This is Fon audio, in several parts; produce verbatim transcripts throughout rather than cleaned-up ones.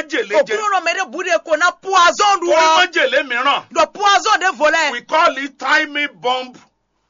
Jèlé jẹ. Òkúnnú nɔ mɛ ɖé bu ɖe ko ná poison ɖu Ó ní ɔ. Májèlé mìíràn. Ɖɔ poison ɖěvo lɛ. We call it timing bomb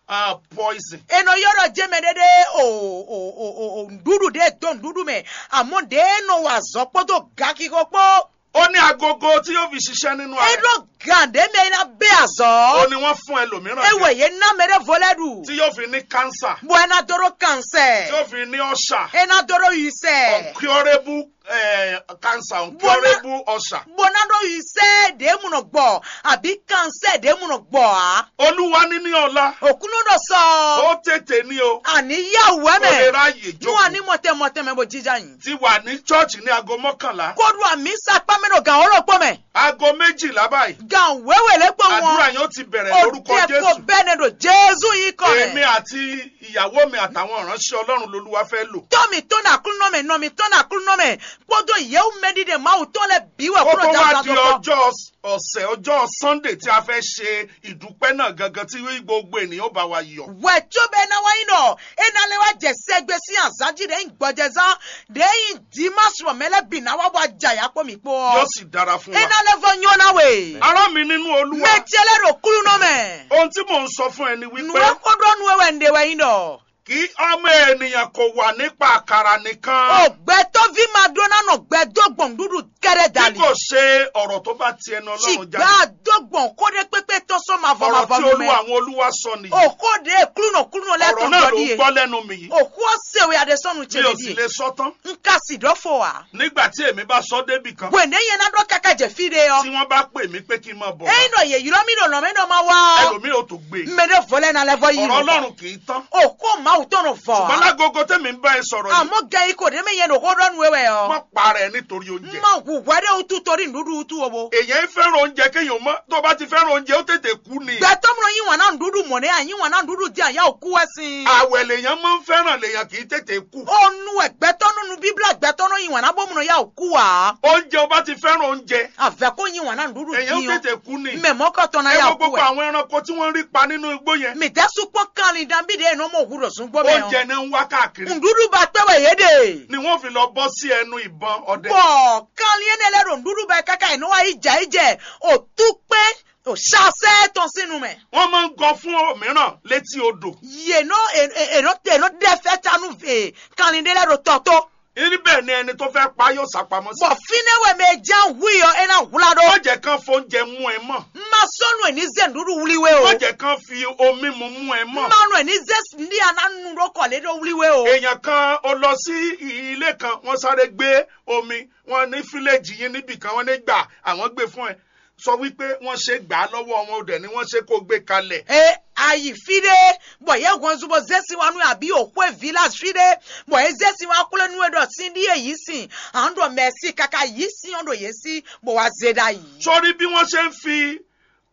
uh, poison. Enɔ yɔrɔ jɛ mɛ ɖe ɖe o o o o o ŋɖuɖu ɖe do ŋɖuɖu mɛ. Àmọ́ ɖe nɔ wa azɔ kpódó gakixo kpó. Ó ní agogo tí yóò fi ṣiṣẹ́ nínú E ayé. Ɖo gan ɖe mɛ ná bɛ azɔ. Ó ní wọ́n fún ẹlòmíràn Ewɔ jẹ. Ye ná mɛ ɖe vo lɛ ɖu. Tí yóò fi ní cancer. Bɔ e ná dó ɖo Tí kansɛ. Yóò fi ní ọ̀ṣà. E ná dó ɖo yisɛ. Incurable eh, cancer, Bɔ ná- incurable ọ̀ṣà. Bɔ ná ɖo yisɛ ɖe mu nɔ gbɔ àbí kansɛ ɖe mu nɔ gbɔ á. Olúwa níní ọlá. Òkúnnú ɖo sɔ. Ó tètè ní o. Àní yá wɛ Ó lè mɛ. Ráyè Nú jókòó. Àní mɔtɛ mɔtɛ mɛ bó jíjá yìí. Ti wà ní church ní aago mọ́kànlá. Kó ɖu àmì sápá mɛ ɖo gàn ó lɔ kpɔ mɛ. Aago méjìlá báyìí. Gàn wéwè lé kpɔ Àdúrà wọn. Yóò ti bẹ̀rẹ̀ lórúkọ Òde kò Jésù. Bẹ́ẹ̀ ni ɖo Jésù yìí kọ Èmi mɛ. Àti ìyàwó mi àtàwọn ìránṣẹ́ Ọlọ́run lolúwa fẹ́ lò. Tɔ́ mi tɔ́n ní Aklúnɔ mɛ, nɔ mi tɔ́n ní Aklúnɔ mɛ, kpódó yěwú mɛɖiɖe Mawu tɔn lɛ bǐ wɛ Kó kúrò tó wá jazán di tó kpɔ́. Ọjọ́ ọ̀sẹ̀, ọjọ́ Sunday tí a fẹ́ ṣe ìdúpẹ́ náà gangan tí gbogbo ènìyàn bá wa yọ̀. Wɛ có bɛ ná wá nyí ɖɔ é ná lɛ́ wá jɛ sɛgbe sín azǎn jí ɖě nyí gbɔjɛzán, ɖě nyí dimáṣu mɛ lɛ́ bǐ ná wá bɔ ajayǎ kpó mǐ kpó Yóò ɔ́. Sì dára fún É wa. Ná lɛ́ vɔ nyɔ́ ná we. Ará mi nínú Olúwa. Mɛ ce lɛ́ ɖo kúlúnɔ mɛ. Ohun tí mò ń sọ fún ẹ ni Nǔ wípé e xó ɖɔ nú we wɛ un ɖe wɛ nyí ɖɔ. Kí ọmọ ènìyàn kò wà nípa àkàrà nìkan. O gbɛtɔ́ví ma ɖó ná nɔ gbɛ dó gbɔn nǔɖuɖu kɛ́ɖɛ́ Bí dali. Kò ṣe ọ̀rọ̀ tó bá ti ẹnu Ọlọ́run jáde. Ṣùgbọ́n a dó gbɔn xó ɖé kpékpé tɔn sɔ́ mavɔ Ọ̀rọ̀ mavɔ tí nú Olúwa mɛ. Àwọn olúwa sọ nìyí. O xó ɖé klúnɔ klúnɔ lẹ́ Ọ̀rọ̀ kàn náà gbọ́ ló díẹ̀. Gbọ́ lẹ́nu mi yìí. O xó se we aɖe sɔ́nu Mi ce ò mi sì díẹ̀. Lè sọ tán. N ka sì ɖɔ fo wa. Nígbà tí èmi bá sọ débì kan. Bwe ne yẹn na ɖɔ kaka jɛ fi ɖe Tí ɔ. Wọ́n bá pè mí pé kí n máa bọ̀ wá. Eyin ɖɔ yě ylɔ mi ɖo nɔ mɛ ɖɔ ma wá ɔ. Ẹlòmíì ò tó gbé. Mɛ ɖe vɔ lɛ na lɛ vɔ yi Ọ̀rọ̀ nɔ. Ọlọ́run kì í tán. O ko Mawu tɔn nɔ vɔ. Ṣùgbọ́n lágogo tẹ́mi ń bá ẹ sọ̀rọ̀ yìí. Àmọ́ gẹ ikọ̀ ɖé mi yẹn ɖo xó ɖɔ nu wɛ ɔ. Má para ẹ nítorí oúnjẹ. Ma wu hwɛ ɖe wutu torí nɖuɖu wutu o bo. Èyàn ń fẹ́ràn oúnjẹ kéèyàn mọ́. Tó bá ti fẹ́ràn oúnjẹ, ó tètè kú ni. Gbɛtɔ́ mlɔ yín wàn náà nɖuɖu mɔ̀nɛ à yín wàn náà nɖuɖu dín àyà òkú wɛ sin. Àwẹ̀ lèèyàn máa ń fẹ́ràn, lèèyàn kì í tètè kú. Onu wɛ gbɛtɔ́ nɔ nu bíblá gbɛtɔ́ nɔ yín wàn náà bó mlɔ yà òkú wa. Oúnjẹ o bá ti fẹ́ràn oúnjẹ. Àvẹ́ kó yín wàn náà nɖuɖu Èyàn ó dín tètè kú ni. Mɛ mɔkɔtɔ na Ẹ yà wo òkú gbogbo wɛ. Àwọn ẹranko tí wọ́n rí pa nínú igbó yẹn. Mi dɛ sukpɔ kanlin dan bi de nɔ mɔ hu ɖo zungbo mɛ Oúnjẹ o. Náà ń wá káàkiri. Nɖuɖu ba kpɛ wɛ yé de. Ni wọ́n fi lọ bọ́ sí ẹnu ìbọn ọdẹ. Bɔ kanlin yé ne lɛ ɖo nɖuɖu ba kaka yé nɔ wa yi dza yi dze o tu kpɛ o sasɛ tɔn sinu mɛ. Wọ́n máa ń gọ fún òmíràn létí odò. Yé nɔ e- e- e nɔ e nɔ ɖe fɛ ta nu e kanlin de lɛ ɖo tɔ to. Níbẹ̀ ni ẹni tó fẹ́ pa yóò sá pamọ́ sí. Bɔ fínɛ́ wɛ mɛ e ján hu yɔ é ná hwlá ɖó. Má jẹ́ kán fóúnjẹ mú ẹ mọ́. Ma sɔ́ nú ẹ̀ ní zé nǔɖuɖu wlí we o. Má jẹ́ kán fi omi mu mú ẹ mọ́. Ma nú ẹ̀ ní zé ndí aná nu ɖó kɔ̀lé ɖó wlí we o. Èèyàn kan ó lọ sí ilé kan, wọ́n sáré gbé omi, wọ́n ní fíléjì yín níbì kan, wọ́n ní gbà àwọn gbé fún ẹ. Sọ wípé wọ́n ṣe gbà á lọ́wọ́ wọn, ó dẹ̀ ni wọ́n ṣe kó gbé kalẹ̀. E ayi fi ɖe bɔ yɛ hɔnzu bɔ zesi wa nu abi o xwe village fi ɖe bɔ ye zesi wa kple nu e ɖɔ sin ɖi ye yi sin an ɖɔ mɛsi kaka yi sin ɔ ɖo ye si bɔ wa ze ɖa yi. Sórí bí wọ́n ṣe ń fi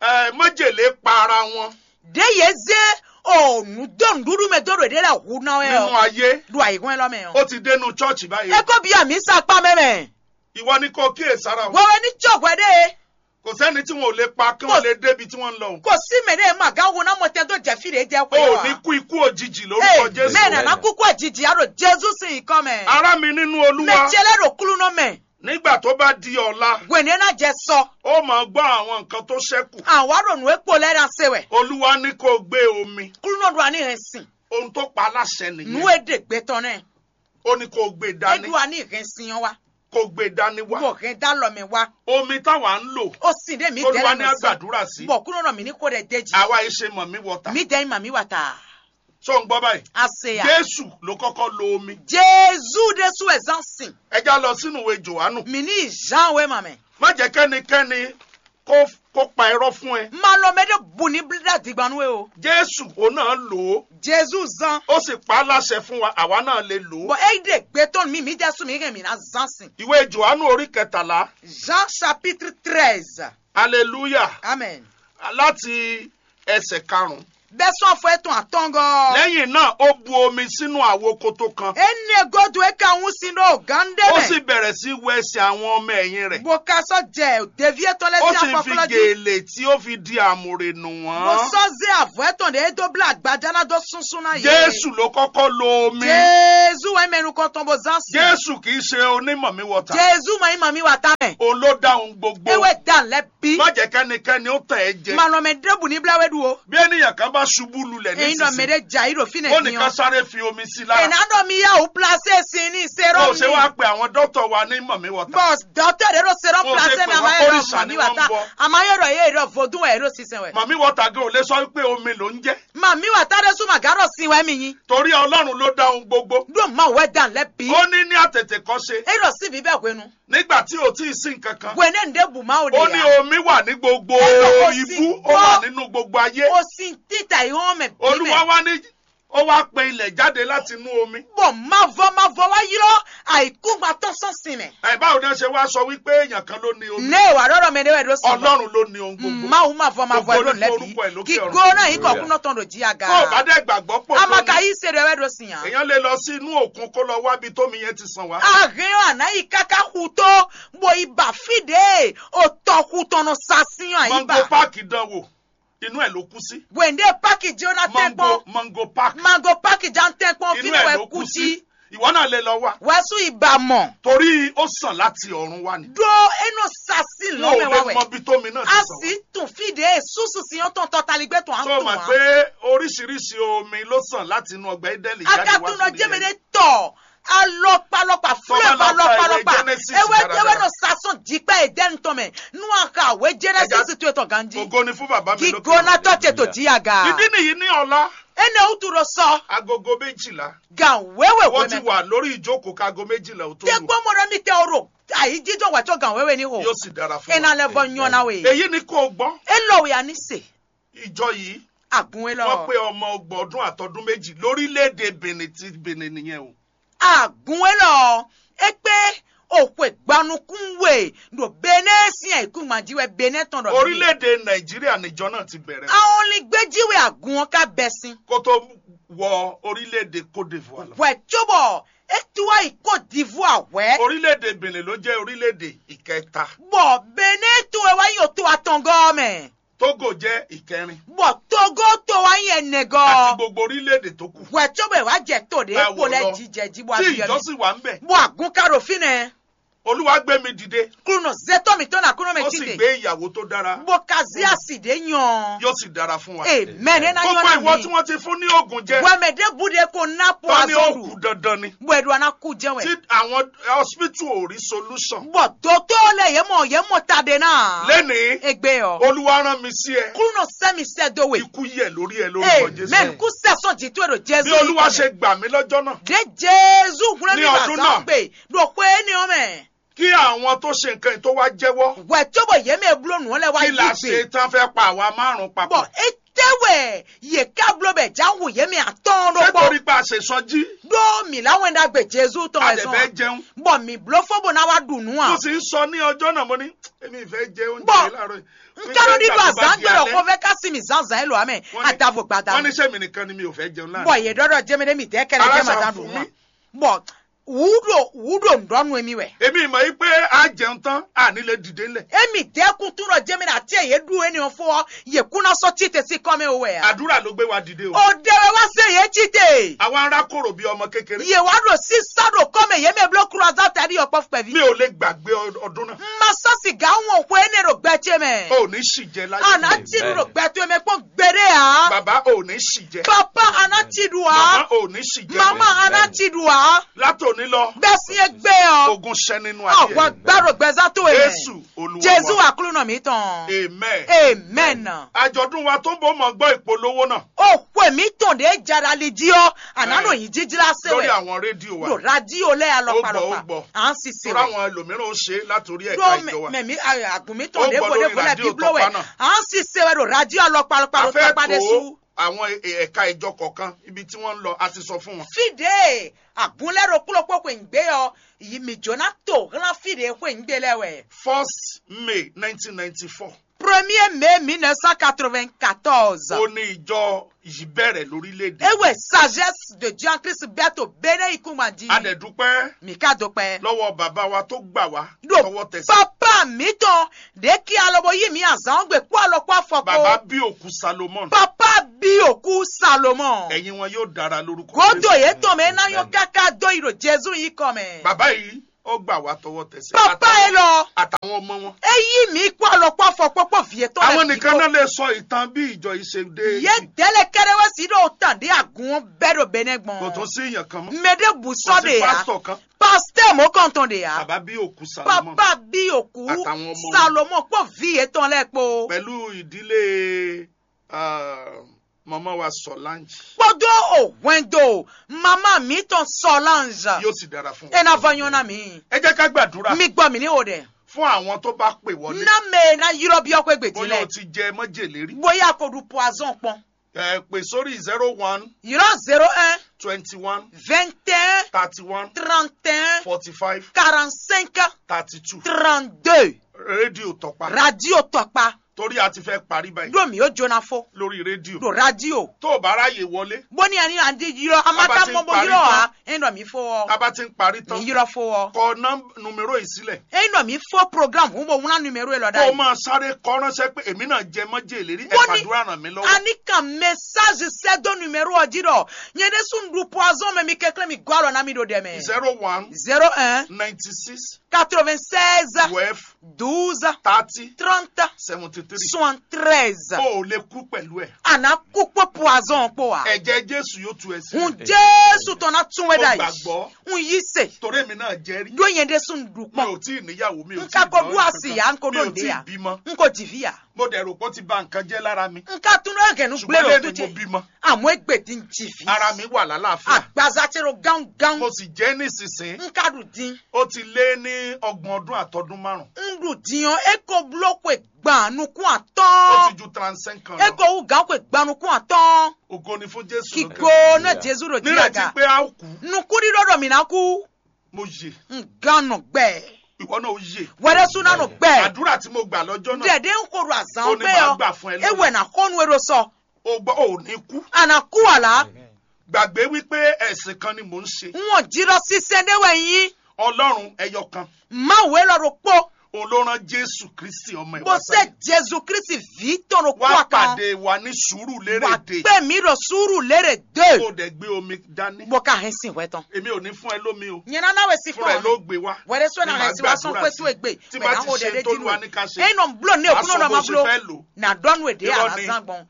eh, májèlé pa ara wọn. Ɖe ye ze o nu do nuɖuɖu mɛ do ɖo ɖe la hu na wɛ nínú ọ ayé. Ɖo ayi hɔn lɔ mɛ ọ. Ó ti dénú church báyìí. Eko bi ami sa kpa mɛ mɛ. Ìwọ ni kò kíyèsára o. Wẹwẹ ní tsɔ hwɛ ɖe. Kò sẹ́ni tí wọn ò lè pa kí wọ́n lè débi tí wọ́n ń lọ o. Kò sí mɛ ɖe ma gán wo ná mɔ tɛ tó jɛ fi ɖe jɛ O ò ní kú ikú òjijì lórúkọ Jésù. Mɛ nana kúkú jìjì á ɖo Jésù sí ikɔ mɛ. Ará mi nínú Olúwa. Mɛ tiɛ lɛ ɖo kúlú nɔ mɛ. Nígbà tó bá di ọ̀la. Wɛnɛ ná jɛ sɔ. Ó máa gbọ́ àwọn nǹkan tó ṣẹ́kù. Àwa ɖo nù ékpo lɛ na se wɛ. Olúwa ní kó o gbé omi. Kúlú nɔ ɖo ani hɛn sin. Ohun tó pa aláṣẹ nìyẹn. Nù é ɖe gbɛtɔ nɛ. Ó ní kó o gbé dání. Eɖo ani hɛn sin wa. Kó o gbé dání wá. Bɔ hɛn dá lɔ mɛ wa. Omi táwa ń lò. O sin ɖe mi Olúwa dɛ ní lɛ a sɔ. Gbàdúrà sí. Bɔ kúlú nɔ mi ní kó ɖɛ dé jì. Àwa yìí ṣe mọ̀ mí wọ̀tà. Mi dɛ ma mi wa ta. Ṣó ń gbọ́ báyìí? Ase ya. Jésù ló kọ́kọ́ lo omi. Jésù ɖésú ɛ zán sin. Ẹ já lọ sínú ìwé Jòhánù. Mi ní Jean wé ma mɛ. Má jẹ́ kẹ́nikẹ́ni kó kó pa irọ́ fún ẹ. Ma lɔ mɛ ɖe bu ní blá digbanu wé o. Jésù òun náà lò ó. Jésù zán. Ó sì pa á láṣẹ fún wa, àwa náà lè lò ó. Bɔn eyi ɖe gbɛtɔ mi mi jɛ su mi hɛn mi na zan sin. Ìwé Jòhánù orí kẹtàlá. Jean chapitre treize. Hallelujah. Amen. Láti ẹsẹ̀ karùn-ún. Bɛ́ sɔ́ afɔ étɔn atɔ́ngɔ́. Lẹ́yìn náà, ó bu omi sínú àwo koto kan. Énɛ́ gúdo é ka wún sin ɖó gǎn ɖé Ó mɛ. Sì bẹ̀rẹ̀ sí wẹ ẹsẹ̀ àwọn ọmọ ẹ̀yìn rẹ̀. Bó ka sɔ́ jɛ ɖeví étɔn lɛ́ɛ Ó sín sì fi afɔklɔ́ jí. Gèlè tí ó fi di àmùrè nù Bó wọ́n. Sɔ́ zé avɔ̌ étɔn ɖě é dó blá agbaja ná dó súnsún ná yě. Jésù ló kọ́kọ́ lo omi. Jezu wɛ mɛ nukɔn tɔn bó zán sí. Jésù kì í ṣe onímọ̀ mi wọ̀ta. Jezu mɔ yí mɔ mi wà tá mɛ. Òun ló dá ohun gbogbo. Ewé dan lɛ bí. Má jẹ́ kẹ́nikẹ́ni ó tàn ẹ́ jẹ. Mànà mɛ ɖěbù ní blá wɛ ɖu o. Bí ènìyàn kan bá ṣubú lulẹ̀ Èyí nɔ mɛ nísinsìnyí, ɖé jà yí ɖo fínɛ ó ní ká sáré fi omi sí lára. Ènà ɖɔ mi yá wò plase sin ní Bó o ṣe wá serɔmi. Pe àwọn dókítà wa ní mọ̀ mi wọ̀ta. Bɔs dɔtɔ ɖe ɖo serɔmi Bó o ṣe plase pè na wọ́n ma yɔrɔ kórìṣà mami ni wà wọ́n tá. Ń bọ́. Àmọ́ yọrọ yé ɖɔ vodun wɛ ɖo sísẹ wɛ. Màmí wọ̀ta gan ò lè sọ pé omi ló ń jẹ́. Mami wà tá ɖe sún màgá ɖɔ sin wɛ mi nyi. Torí Ọlọ́run ló dá ohun gbogbo. Ɖo ma wɛ dan lɛ bi. Ó ní ní àtètè kọ́ ṣe. E ɖɔ sí bíbẹ hwenu. Nígbà tí ò tí ì sí nǹkan kan. Wene nde bu ma o de Ó ní ya. Omi wà ní gbogbo Ẹ lọ kó ibú, sí ó wà gbọ́. Nínú gbogbo ayé. O sin títà ìhọ́n mẹ bí Olúwa mẹ. Wá ní, ó wá pe ilẹ̀ jáde láti inú omi. Bọ̀ má vọ́ má vọ́ wá ylɔ àìkúgbatɔ sɔ́ sin mɛ. Ẹ báwo ni wọ́n ṣe wá sọ wípé èèyàn kan ló ní omi? Ne wà ɖɔɖɔ mɛ ɖe wɛ ɖo sin. Ọlọ́run ló ní ohun gbogbo. Mawu má vɔ má vɔ Gbogbo ɖo ní lɛbi. Orúkọ ẹ̀ lókè Kíkó ọ̀run. Náà yí kọ̀kún náà tɔn ɖo jí aga. Tó o bá dẹ̀ gbàgbọ́ pò Amaka ní, yí se ɖe wɛ ɖo sin ya. Èèyàn lè lọ sí inú òkun kó lọ wá ibi tómi yẹn ti sàn wá. Ahɛn ɔ àná yí káká xu tó, bó yí ba fí ɖě o tɔ xu tɔn nɔ sa sin ɔ àyí ba. Mango Park dán wò, inú ẹ̀ ló kú sí. Wende paki jona tɛnkpɔn. Mango Park. Mango Park jan tɛnkpɔn fi Inú ẹ̀ wɛ ló kú kú sí. Sí. Ìwọ náà lè lọ wá. Wɛsu iba mɔ. Torí ó sàn láti ọ̀run wá ni. Ɖó enɔ sasi Wọn lɔ ò mɛ lè wá mọ wɛ. Ibi tómi náà ti sàn wá. A sì tún fìdí èsúsù sí yóò tán tọ́taligbe tán á Tó o tún mọ̀ wá. Pé oríṣiríṣi omi ló sàn láti inú ọgbà Édẹ́nì jáde wá Akatúnɔ sílé jẹ́mi ayé. Ní tọ̀ alɔkpalɔkpa Tó o bá flɛ́ lọ ka ìwé balɔkpalɔkpa. Genesis Ewé dáradára. Ewé nɔ sasɔn jíkpá Édẹ́nì tɔn mɛ. Nú a ka wé Genesis Ẹja- tó etɔn ganjí. Ògo ni fún bàbá mi lókè Gígbóná ọ̀run. Tọ́ ṣe tò jí aga. Ìdí nìyí ní ọ̀la. Ene wutu ɖo sɔ. Agogo méjìlá. Gan wéwe Wọ́n ti wé mɛ. Wà lórí ìjókòó kágo méjìlá ò tó lù. Tẹ́gbọ́n mo ɖe mi tẹ oro. Ayi jíjọ wà tó gan wéwe ní o. Yóò sì dára fún Ena wa. Lɛ vɔ nyɔna we. Èyí ni kò gbọ́. Elɔ wɛ ani se. Ìjọ yìí. Agun elɔ. Wọ́n pé ọmọ ọgbọ̀n ọdún àtọdún méjì lórílẹ̀‐èdè Benin tí Benin nìyẹn o. Agun elɔ. Ekpe òkwe gbanukun we ɖo Benin sín ayikúngban jí wɛ Benin tɔn ɖɔ. Orílẹ̀‐èdè Nàìjíríà níjọ náà ti bẹ̀rẹ̀. Àwọn olùgbé jí wɛ agun ɔ́ ká bɛ sín. Kó tó wọ orílẹ̀‐èdè Côte d'Ivoire lọ. Wɛ cóbɔ é tú wá yi Côte d'Ivoire wɛ. Orílẹ̀‐èdè Benin ló jẹ́ orílẹ̀‐èdè ìkẹta. Bɔ Benin tó ẹ wá yi òtó atɔngɔ́ mɛ. Togo jẹ́ ìkẹrin. Bɔ Togo tó wá yi ẹnẹgɔ́. Àti gbogbo orílẹ̀‐èdè tó kù. Wɛ cóbɔ ẹ wá jẹ tó ɖe Báwo kó lẹ lọ? Jíjẹ jí bɔ Tí abiyọ ìjọ mɛ. Sì wà ń bẹ̀. Bɔ àgùn ká ɖo fínɛ. Olúwa gbé mi dìde. Kúnú zétọ́ mi tó na kúnú mi Ó sì títè. Gbé ìyàwó tó dára. Bó ka zí àsìdé yan. Yóò sì dára fún wa. Amen. Ena Gbogbo yɔn ìwọ mi. Tí wọ́n ti fún ní oògùn jẹ. Wẹ́mẹ̀ dé bu de ko ná po Tọ́ ni ó azɔ́ kù dandan ni. Bó ẹ do ana kú jẹ́ wẹ̀. Tí àwọn hospital ò rí solution. Bọ̀ dótó lè yé mọ̀ yé mọ̀ ta de náà. Lénìí. Egbe ɔ. Olúwa rán mi sí ẹ. Kúnú sẹ́mi sẹ́ do wè. Ikú yẹ̀ lórí ẹ lórúkọ Jésù. Amen. Kú sẹ́sán jì tó èrò Jésù. Bí Olúwa ṣe gbà mí lọ́jọ́ náà. Dé Jésù húnlẹ́ Ní mi ọdún bàtà náà. Gbè. Ɖo xwe énɛ́ ɔ́ mɛ. Kí àwọn tó ṣe nǹkan yìí tó wá jẹ́wọ́. Wɛ cóbɔ yě mɛ bló nǔ lɛ́ɛ wá Kí la ṣe tán fẹ́ pa àwa márùn-ún papọ̀? Bɔ é tɛ́ wɛ yě ká bló bɛ jáhu yě mɛ atɔ́ɔ́n ɖó Ṣé kpɔ́. Torí pé a ṣe sɔjí? Ɖó mǐ lá wɛn ɖagbe Jezu tɔn A wɛ dẹ̀ zɔn fẹ́ a? Jẹun. Bɔ mǐ bló fó bó ná wá ɖu nǔ a? Mo sì ń sọ ní ọjọ́ náà, mo ní, èmi ì fẹ́ jẹ oúnjẹ Bɔ yìí láàárọ̀ yìí. N ká ló ní Nígbà do tó bá azán di gbèrò alẹ́, kó fẹ́ ká sí mi zánzán ẹ lò amẹ. Wọ́n ní, àdàbò gbàdá. Wọ́n ní ṣé mi nìkan ni mi ò fẹ́ jẹun láàárọ̀? Bɔ yě ɖɔɖɔ jẹmẹdé mi dẹ́ kẹlẹ Ara jẹ màdá ṣàfù nù mí. Wọn. Bɔ wúɖò wúɖò ŋɖɔnú emi wɛ. Èmi mọ̀ yí pé a jẹun tán, a ní lè dìde ńlẹ̀. Emi dẹ́kun tún lọ jẹ́mi náà tí èyí ɖú ẹni wọn fún ọ, yè kúná sọ tí tẹ̀sí kọ́ mi wò wẹ̀ ya. Àdúrà ló gbé wa dìde o. Òde wẹ wá sí èyí tí tè. Àwa ará kòrò bí ọmọ kékeré. Yè wá ɖo sísá ɖo kọ́ mi yé mi bló kúrò azá tẹ̀ ní ọ̀pọ̀ pẹ̀lú. Mi ò lè gbàgbé ọ- ọdún náà. Ma sọ sìgá wọn òkú ẹni ɖo gbẹ tí mẹ. O ò ní ṣì jẹ láyé. Àná tí mi ɖo gbẹ tó mẹ kpọ́n gbére ya. Bàbá, o ò ní ṣì jẹ. Papa, àná tí ɖu wa. Màmá, o ò ní ṣì jẹ. Mama, àná tí ɖu wa. Látòní lọ. Bẹ́ẹ̀ sí é gbé ọ. Ogun ṣẹ́ nínú ayé. Ọ̀wọ́ gbàrò gbẹ́sà tó yẹ. Jésù Olúwa Jésù wa. Àkúrúnà mi tán. Amen. Amen. Àjọ̀dún wa tó ń bọ̀ mọ̀ gbọ́ ìpolówó náà. Ó pè mí tàn dé jara lè jí ọ. Àná Ẹ. Ló yín jíjí lásán Lórí wẹ̀. Àwọn rédíò wa. Lò rádíò lẹ́ Ó gbọ́, ó alọ́pàlọ́pà. Gbọ́. À ń ṣiṣẹ́ Lórí wẹ̀. Àwọn ẹlòmíràn ó ṣe látòrí ẹ̀ka Dó ìjọ wa. Mẹ̀mí àgùnmí Ó tàn dé gbọ́ bọ̀dé lórí bọ̀lẹ̀ rádíò bíbló wẹ̀. Tọ́pá náà. À ń ṣiṣẹ́ wẹ̀ lò rádíò alọ́pàlọ́pà A ló fẹ́ tọ́pá dé tó sú. Àwọn e- ẹ̀ka ìjọ kọ̀ọ̀kan ibi tí wọ́n ń lọ, a ti sọ fún wọn. Fídè Agun lɛ́ɛ ɖokpó ɖokpó xweyǐgbe ɔ́, yi mǐ jó ná to hlán fí ɖě xweyǐgbe lɛ́ɛ wɛ. First May nineteen ninety-four. Premier mai mille neuf cent quatre-vingt-quatorze. Ó ní ìjọ yìí bẹ̀rẹ̀ lórílẹ̀‐èdè. Ewé sagesse de Dieu en Christ bɛ́ to Bénin yìí kún gbàdí. A dẹ̀ dúpẹ́ Mika dópẹ́. Lọ́wọ́ bàbá wa tó gbà wá Ɖo tọwọ́ tẹsẹ̀. Papa mǐtɔn ɖě kí alɔ bó yí mǐ azǎn ɔ́ gbe kpó alɔ kpó afɔ kpó. Bàbá bí òkú Salomon. Papa bí òkú Salomon. Ẹ̀yin wọn yóò dára lórúkọ Godo Jésù. Yě tɔn mɛ ná yɔn káká dó yi ɖo Jezu yí kɔ mɛ. Bàbá yìí, ó gbà wá tọwọ́ tẹsẹ̀. Papa Àtàwọn- yẹn lọ. Àtàwọn ọmọ wọn. E yí mǐ kpó alɔ kpó afɔ kpó kpó vǐ yẹn tɔn Àwọn nìkan náà lè sọ ìtàn bí ìjọ yìí ṣe dé. Yé délé kéré wé sí ɖo tàn ɖé àgùn ɔ́ bɛ́ ɖo Bénin gbɔn. Kò tún sí èèyàn kan mọ́. Mɛ ɖé bù Kò sɔ sí ɖe ya. Pásítọ̀ kan. Pásítọ̀ mɔ̌ kɔntɔn ɖe ya. Bàbá bí òkú Salomon. Papa bí òkú Àtàwọn ọmọ. Salomon kpó vǐ yẹn tɔn lɛ́ɛ kpó. Pẹ̀lú ìdílé ah, màmá wa Solange. Kpódó òhwɛndo mama mǐtɔn Solange. Yóò sì dára fún ẹ ná vɔ nyɔ́ ná mǐ. Ẹ jẹ́ ká gbàdúrà. Mi gbọ́ mǐ ní o dɛ. Fún àwọn tó bá pè wọlé. Ná mɛ ná yrɔ byɔ́ xwé gbèdí Bóyá o lɛ. Ti jẹ májèlé rí. Bóyá kò ɖu poison kpɔn. Ẹ pè sórí zero one Yrɔ zéro un twenty one vingt et un thirty one trente et un forty five quarante cinq thirty two. Trente deux. Rédíò Tọ́pá. Radio Tɔkpa. Torí a ti fẹ́ parí báyìí. Ɖo mǐ ó jóná fó. Lórí rédíò. Ɖo radio. Tó o bá ráyè wọlé. Bóni ani adi yrɔ a ma Baba ka ti mɔ bó parí yrɔ tán. A ɛ nɔ mǐ fó ɔ. A bá ti ń parí tán. Mǐ yrɔ fó ɔ. Kọ nọ́m- numero yìí sílẹ̀. Ɛ nɔ mǐ fó programme hu bó wúná numero yɛ lɔ Kó o ɖa. Máa sáré kọ́ ránṣẹ́ pé èmi náà jẹ mọ́jèlé rí. Bóni Ẹ̀fàdúrà ràn mí lọ́wọ́. Ani kan message sɛ do numero ɔ jí ɖɔ. Nyɛ ɖe sun ɖu poison mɛ mi kɛklɛ mi gɔ alɔ na mi ɖo ɖɛ mɛ. Zero one Zero un ninety six quatre-vingt-seize twelve douze thirty trente seventy three. Soixante-treize. O ò lè kú pẹ̀lú ẹ̀. A nǎ kú kpó poison kpó wa. Ẹ̀jẹ̀ Jésù yóò tú ẹ sí. Hun Jésù tɔn ná tún wɛ Mo dá yìí. Gbàgbọ́. Hun yí se. Torí èmi náà jẹ́ rí. Ɖó nyɛ ɖe sun ɖu Mi kpɔn. Ò tí ì níyàwó, mi ò N tí ì ka ko lọ ɖu asi ya, n ko mi ɖo ò tí ì nɖe ya. Bímọ. N ko dzi vi ya. Mo dẹ̀ rò pé ó ti ba nǹkan jẹ́ lára mi. N ka tún ɖo gɛnu Ṣùgbọ́n gblé lé ɖo ní tó mo jẹ. Bímọ. Àmọ́ egbe dín dzi vi. Ara mi wà lálàáfíà. Agbaza tse ɖo gángan. Mo sì jẹ́ nísinsìnyí. N ka ɖu dín. Ó ti lé ní ọgbọ̀n ọdún àtọdún márùn. N ɖu dín ɔ́, e ko bló xwe gban nukún Ó atɔ́ɔ́n. Ti ju trente-cinq ans E lọ. Ko wú gǎn xwe gban nukún atɔ́ɔ́n. Ògo ni fún Jésù Kí lókè. Go ná Jésù ɖo Nírètí díaga. Pé a ó kú. Nukúɖíɖó ɖɔ mǐ ná kú. Mo yè. N gán nɔ gbɛ. Ìwọ náà ó yè. Wɛrɛ sú ná nɔ gbɛ. Àdúrà tí mo gbà lọ́jọ́ náà. Dɛdɛ ń koro azan Ó ní gbé màá ọ. Gbà fún ẹ lónìí. Ewɛ na xɔnu ero sɔ. O gbọ́, o ò ní kú. Àná kú àlá. Gbàgbé wípé ẹ̀sìn kan ni mò ń ṣe. Wọn jírọ sísẹ dé wẹ yín. Ọlọ́run ẹyọ kan. Má wé lọ ro pó. Òun ló rán Jésù Kristi ọmọ ẹ̀ Bó wá ṣe sáyé. Jésù Kristi ví tọrọ kú Wá àkàn. Pàdé wa ní sùúrù Wà lérè dé. Pé mi rọ sùúrù lérè dé. Kó o dẹ̀ gbé omi dání. Bó ká hẹn sin wẹ tán. Èmi ò ní fún ẹ lómi o. Nyɛ nana wɛ si Fúnra ẹ kpɔn. Ló gbé wá. Wɛrɛ sɔ Ní na màá hɛn si wa sɔn gbàdúrà pé sí. Tó egbe. Tí Mɛ bá na ti o ṣe dɛdɛ tó dinu. Lúwa ní ká ṣe. Eno blo ne Màá okun sọ nɔ bó ma ṣe blo. Fẹ́ lò. Na dɔnu ede Irọ́ ni. Alazan gbɔn.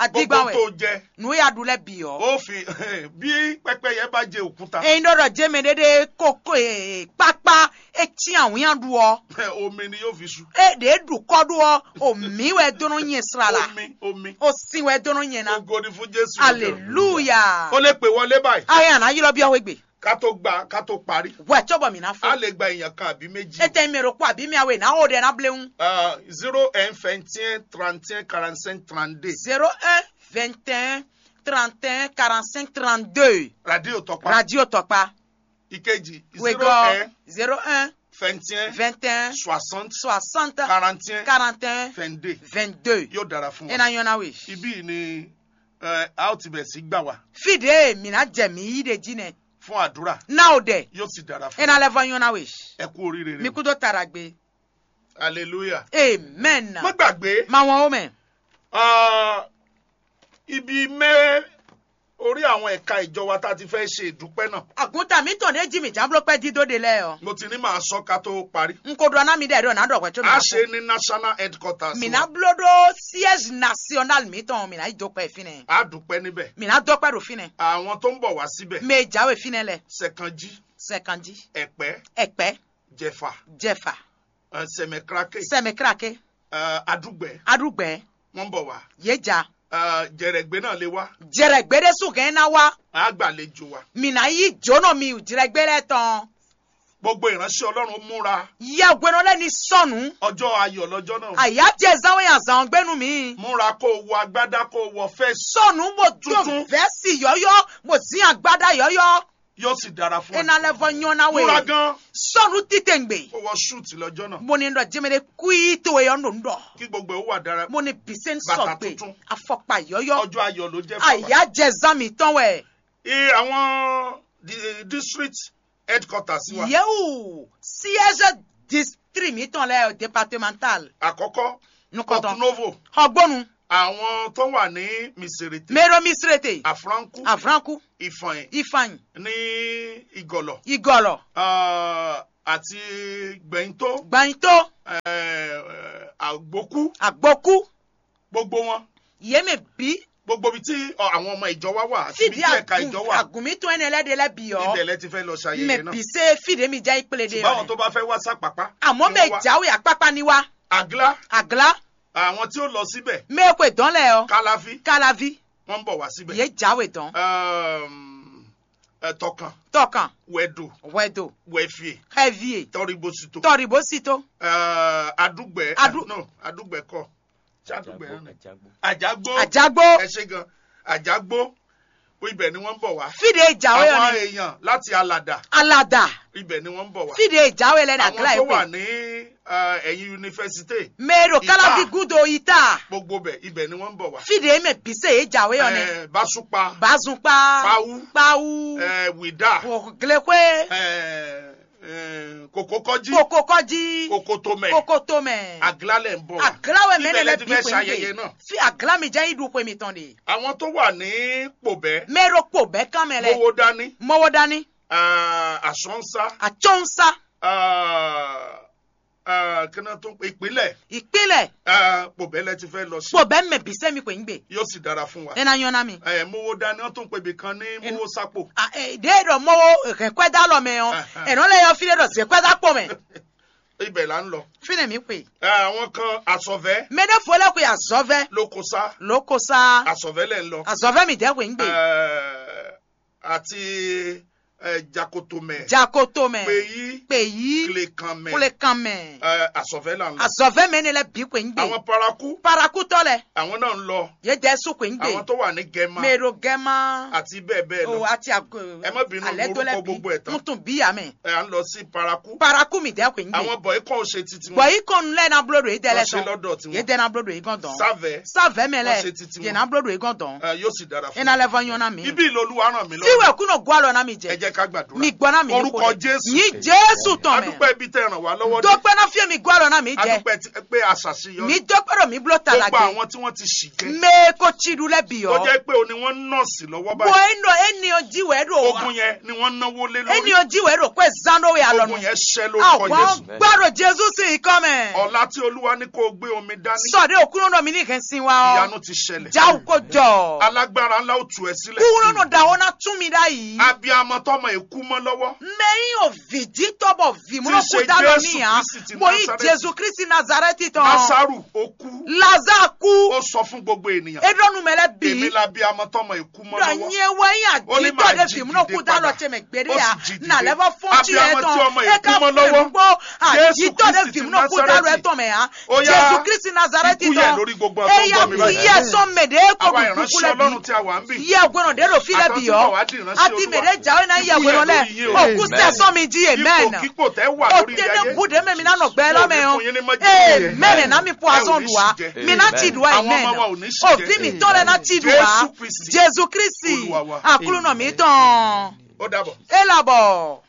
Adigba Gbogbo wɛ. Tó jẹ. Nu ya du lɛ bi ɔ. Ó fi bí pẹpẹyẹ bá jẹ òkúta. Eyin dɔ dɔ jẹ mɛ dede koko ee kpakpa etí awunya du ɔ. Omi ni yóò fi su. E de du kɔ do ɔ. Omi wɛ dono nyɛ srala. Omi omi. Osin wɛ dono nyɛ na. Ògo ni fún Jésù. Aleluya. Ó lè pè wọlé báyìí. Ayi ana yirɔ bi ɔwɛ gbe. Ká tó gba ká tó parí. Wɛ tsɔ bɔ mi na A fɔ. Lè gba èèyàn kan àbí méjì. Ete mi ro kpɔ àbí mi awe na o de na blewu. Zero un vingt et un trente et un quarante-cinq trente-deux. Zero un vingt et un trente et un quarante-cinq trente-deux. Radio Tɔkpa. Radio Tɔkpa. Ìkejì. Wegɔ zero un zero un vingt et un vingt et un soixante soixante quarante et un quarante et un vingt-deux. Vingt-deux. Yóò dára fún wa. Ena yɔn na we. Ibí yìí ni ẹ, a ó ti bẹ̀rẹ̀ sí gbà wá Fi de mi na jɛ mi yi de ji nɛ. Fún àdúrà. Na o dɛ. Yóò sì dára fún Ena wa. Lɛ vɔ yɔn na we. Ẹ kú oríire rẹ. Mi kudo taragbe. Hallelujah. Amen. Má gbàgbé. Ma wɔn o mɛ. Ah, ibi mẹ́ orí àwọn ẹ̀ka ìjọ wa tá a ti fẹ́ ṣe ìdúpẹ́ náà. Àgùntàn mi tàn dé jí mi jábúlò pẹ́ dídó de lẹ́ ọ. Mo ti ní màá sọ ká tó parí. N kò dɔn ná mi dẹ̀ dɔn ná dɔ̀gbẹ́ tó mi A ná ṣe fún. Ní national headquarters Mi wa. Ná bló ɖó siège national mi tɔn mi ná yi dó pẹ́ fínɛ. A dúpẹ́ níbẹ̀. Mi ná dó pẹ́ ɖo fínɛ. Àwọn tó ń bọ̀ wá síbẹ̀. Mɛ jáwé fínɛ lɛ. Sẹ̀kanjí. Sẹ̀kanjí. Ẹ̀pẹ́. Ẹ̀pẹ́. Jẹ̀fà. Jẹ̀fà. Ẹ, Sẹ̀mẹ̀kírákè. Sẹ̀mẹ̀kírákè. Ẹ, Adúgbẹ́. Adúgbẹ́. Wọ́n ń bọ̀ wá. Yéjà. Ẹ, Jẹ̀rẹ̀gbé náà lè wá. Jẹ̀rẹ̀gbé ɖé sùn gɛn ná wá. A gbàlejò wa. Mì ná yí jónɔ mi jẹ̀rẹ̀gbé lɛ tɔn. Gbogbo ìránṣẹ́ Ọlọ́run ó múra. Yàgbẹ́nà lẹ́ni sọnù. Ọjọ́ ayọ̀ lọ́jọ́ náà. Àyájẹ záwé àzàn gbẹ́nu mi. Múra kó o wọ agbádá kó o wọ fẹ́ẹ̀sì. Sọnù mo tó Tuntun. Vẹ́sì yọ́yọ́, mo zín agbádá yọ́yọ́. Yóò sì dára fún ẹ. Ena lɛ vɔ nyɔ na we. Múra gan. Sɔnu titengbe. Kó wọ ṣúùtì lọ́jọ́ náà. Mo ní ɖɔ jẹmɛ ɖe kú yí to eyɔ nɖo nɖɔ. Kí gbogbo ẹ̀ ó wà dára. Mo ní bìsẹ́ ń Bàtà sɔgbe. Tuntun. Afɔkpa yɔyɔ. Ọjọ́ ayọ̀ ló jẹ́ fún wa. Àyà jẹ zan mi tɔn wɛ. Ẹ, àwọn di- district headquarters wa. Yewu siège district mi tɔn lɛ départemental. Àkọ́kọ́, Nukɔtɔ. Porto Novo. Xɔgbónu. Àwọn tó wà ní Miserete. Mero Miserete. Afranku. Afranku. Ìfọ̀n. Ìfọ̀n. Ní Ìgọ̀lọ̀. Ìgọ̀lọ̀. Ah, àti Gbẹ̀yìntó. Gbẹ̀yìntó. Eh, Àgbókú. Àgbókú. Gbogbo wọn. Yé mɛ bí. Gbogbo ibi tí ọ, àwọn ọmọ ìjọ wa wà, àti ibi Fìdí tí ẹ̀ka ìjọ wà. Àgùnmí tó ẹni ẹlẹ́dẹ̀ lẹ́bi ọ́. Ibẹ̀ lẹ ti fẹ́ lọ ṣayẹyẹ náà. Mɛ bí se fìdí mi jẹ́ ìpele de. Ṣùgbọ́n àwọn tó bá fẹ́ wá sápápá. Àmọ́ mɛ jáwé àpápá ni wá. Àgílá. Àgílá. Àwọn tí ó lọ síbẹ̀. Mɛ kò dán lẹ̀ ọ́. Káláfí. Káláfí. Wọ́n ń bọ̀ wá síbẹ̀. Yé jáwé dán. Ehm, ẹ, Tọkàn. Tọkàn. Wẹ̀dò. Wẹ̀dò. Wẹ̀fìè. Xɛvie. Tọribosito. Tọribosito. Ẹ, Adúgbẹ̀. Adú- no, Adúgbẹ̀ kọ́. Ṣé Adúgbẹ̀ náà ni? Àjágbó. Àjágbó. Ẹ ṣe gan. Àjágbó. Ó ibẹ̀ ni wọ́n ń bọ̀ wá. Fìdí ìjàwé Àwọn ọ̀nì. Èèyàn láti Alàdà. Alàdà. Ibẹ̀ ni wọ́n ń bọ̀ wá. Fìdí ìjàwé lẹ́nu Àwọn àgílá tó ìpè. Wà ní eh, ẹ̀yìn yunifásitì. Mero Ìta. Kálábí gúdo ìta. Gbogbo bẹ̀, ibẹ̀ ni wọ́n ń bọ̀ wá. Fìdí èmi bìsẹ̀ yé jàwé ọ̀nì. Eh, Básúpa. Bázunpa. Páwú. Páwú. Eh, Wìdá. Òglékwé. Eh, eh, Kòkókọ́jí. Kòkókọ́jí. Kòkótómẹ̀. Kòkótómẹ̀. Àgílálẹ̀ ń bọ̀ wá. Àgíláwẹ̀ Ibẹ̀ mẹ́rin lẹ lẹ ti bí fẹ́ pé ń ṣayẹyẹ gbé. Náà. Fi àgílá mi jẹ́ ìdúpọ̀ èmi tán de. Àwọn tó wà ní Pòbẹ́. Mero Pòbẹ́ kán mẹ́ lẹ. Mowó dání. Mowó dání. Ah, Àsọ́nsá. Àtsọ́nsá. Ah, ah, kí náà tún ìpínlẹ̀. Ìpínlẹ̀. Ah, Pòbẹ́ lẹ ti fẹ́ lọ sí. Pòbẹ́ mẹ bí sẹ́mi kò ń gbé. Yóò sì dára fún wa. Ẹ na yan na mi. Ẹ mowó dání, wọ́n tún pè mí kan ní mowó sápò. Ah, ẹ, de ɖɔ mɔwo hɛn kwɛda lɔ mɛ ɔ. Ahan. Ɛ nɔ lɛ yɔ fi ɖe ɖɔ zɛ kwɛda kpɔ mɛ. Ibẹ̀ là ń lọ. Fi ne mi kpe. Ẹ, àwọn kan àsọ̀vẹ́. Mɛ ne fo lɛ kpe azɔvɛ. Lókosá. Lókosá. Àsọ̀vẹ́ lẹ̀ ń lọ. Azɔvɛ mi dɛ kpe ń gbé. Ẹ, àti ẹ, Jakotomɛ. Jakotomɛ. Kpeyi. Kpeyi. Klekanmɛ. Klekanmɛ. Ẹ, àsọ̀vẹ́ là ń lọ. Azɔvɛ mɛ ne lɛ bi kpe ń gbé. Àwọn paraku. Parakutɔ lɛ. Àwọn náà ń lọ. Ye jɛ su kpe ń gbé. Àwọn tó wà ní Gẹmá. Mero Gẹmá. Àti bẹ́ẹ̀ bẹ́ẹ̀ lọ. O àti àgọ. Ẹ má bínú, alẹ́ tó lẹ lórúkọ bí. Gbogbo ẹ̀ tán. N tún bí yà mẹ́. Ẹ à ń lọ sí paraku. Paraku mi dẹ́ kpe ń gbé. Àwọn bọ̀yì kan ò ṣe titi wọn. Bọ̀yì kan lẹ na blo do ye dẹ lẹ Wọ́n ṣe tán. Lọ́dọ̀ tiwọn. Ye dẹ na blo do ye gán dán. Sábẹ́. Sábẹ́ mẹ lẹ. Wọ́n ṣe titi wọn. Ye na blo do ye gán dán. Ẹ, yóò sì dára fún Ena lẹ vɔ nyɔ na mi. Ibi ìlú Olúwa ràn mí lọ́wọ́. Fiwe kúnɔ gbɔ alɔ na mi jẹ. Ẹ jẹ́ ká gbàdúrà. Mi gbɔ na mi. Orúkọ Jésù. Nyi Jésù tɔn mɛ. Adúpẹ́ ibi tẹ́ ẹ ràn wá lọ́wọ́ dé. Dókpɛ na fie mi gbɔ alɔ na mi jẹ. Adúpẹ́ ti- pé a ṣàṣeyọrí. Mi dókpɛ ɖo mi blo ta la Gbogbo gbé. Àwọn tí wọ́n ti ṣì jẹ́. Mɛ ko tsi ɖu lɛ bi Tó ɔ. Jẹ́ pé o ni wọ́n ń nọ́ọ̀sì lọ́wọ́ Bɔ báyìí. Eno eni ɔ ji wɛ ɖo wa. Ogun yẹn ni wọ́n náwó lé lórí. Eni ɔ ji wɛ ɖo kó ɛ zan ɖo wɛ alɔ Ogun nu. Yẹn ṣẹ́ lórúkọ Awa Jésù. Gbɔ ɖo Jesu si yi kɔ mɛ. Ọ̀la tí Olúwa ní kó o gbé omi dání. Sɔ ɖe okunu ɖɔ mi ni hɛn sin wa ɔ. Ìyanu ti ṣẹlẹ̀. Jawu ko jɔ. Alágbára ńlá ó tú ẹ sílẹ̀. Kúrò nù da wo na tún mi ɖa yi. Abiyamọ tọmọ èkú mọ́ lọ́wọ́. Mɛ yi o vǐjítɔ́ bɔ vǐmúnɔkú Tí í ṣe dá lọ Jésù níyà. Kristi ti Mo yi Násárẹ́tì. Jesu Kristi Nazareti tɔn. Lásárù ó kú. Lazare kú. Ó sọ fún gbogbo ènìyàn. E ɖɔ nu mɛ lɛ Èmi bi. La bí amọ tɔmọ èkú mọ́ Ɖɔ lọ́wọ́. Nyɛ wɛ yi Ó ní àjítɔ máa ɖe jí vǐmúnɔkú dìde dá lɔ padà. Tse mɛ gbede Ó ya. Sì jí dìde. Na lɛ va fɔn tí Abiyamọ ɛ tí tɔn. Ọmọ E ka èkú mọ́ fɔ lọ́wọ́. Gbogbo Jésù àjítɔ ɖe Kristi ti vǐmúnɔkú dá lɔ Násárẹ́tì. Ɛ tɔn mɛ ya. Ó yá, Jesu Kristi Nazareti ikú yẹ tɔn. Lórí gbogbo E ọmọ ya mi kú báyìí. Yẹ sɔn mɛ ɖe kɔ Àwa bu ìránṣẹ́ kúkú lɛ Ọlọ́run bi. Tí a wà ń bì. Yɛ gbɔnɔ ɖe ɖo fi lɛ bi Àtàwọn tí yɔ. Wọ́n wá di ìránṣẹ́ Ati mɛ Olúwa. Ɖe dza wɛ na yɛ Ikú yẹ gbɔnɔ lɛ. Lórí yín o. Òkú sɛ sɔn mi jí yɛ mɛn. Ipòkípò tẹ́ wà lórí Òtí ne ayé. Bu ɖe mɛ mi na nɔ gbɛ lɔ mɛ Mo ɔ. Fún yín ní májèlé. Ee mɛnɛ na mi po Ẹ ò azɔn ní do wa. Ṣì jẹ. Mi na ti do wa Àwọn ọmọ wa ò imɛn. Ní ṣì jẹ. Ovi mi tɔn lɛ na ti do wa. Jésù Kristi. Jesu Kristi. Olúwa wa. Akulunɔ mi tɔn. Ó dàbọ̀. E labɔ.